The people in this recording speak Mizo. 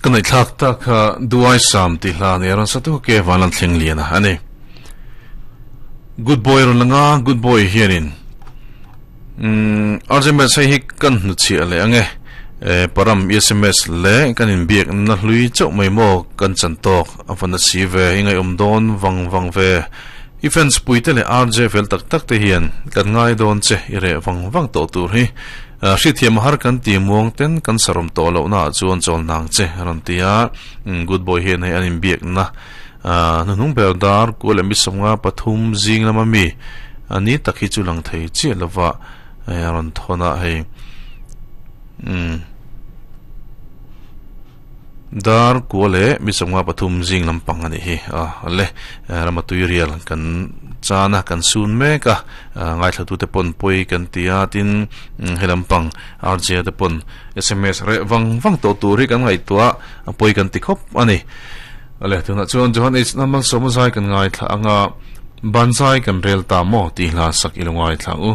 Kan nei thlak tak kha Duai Sam tih hla nia rawn sa tu ke Vanlan Thleng Liana a ni. Good boy rawn lang a, good boy hianin umm RJ Mess hei hi kan hnuchhiah leh ang e. Param sms leh kan inbiakna hlui chauh mai maw kan chan tawk a va na si ve i ngaihawm dawn vang vang ve. I fans puite leh RJ fel tak tak te hian kan ngai dawn che i reh vang vang tawh tur hi. Hriathiam a har kan ti muang ten kan sarawm tawh loh naah chuan chawl nang che a rawn ti a, good boy hian hei an inbiakna hnuhnung ber dar kual leh misawmnga pathum zing lama mi a ni tak hi chu lang thei chiah lova a rawn thawn a hei umm. Dar kua leh misawmnga pathum zing lampang a nih hi a le rama tuirial kan chan a kan sun mek a ngaithlatute pawn pawi kan ti a tin he lampang RJ te pawn sms reh vang vang tawh tur hi kan ngaihtuah a pawi kan ti khawp a ni le tunah chuan Johan H Lalmalsawma zai kan ngaithla anga banzai kan rel ta maw tih hla sak i lo ngaithla ang u.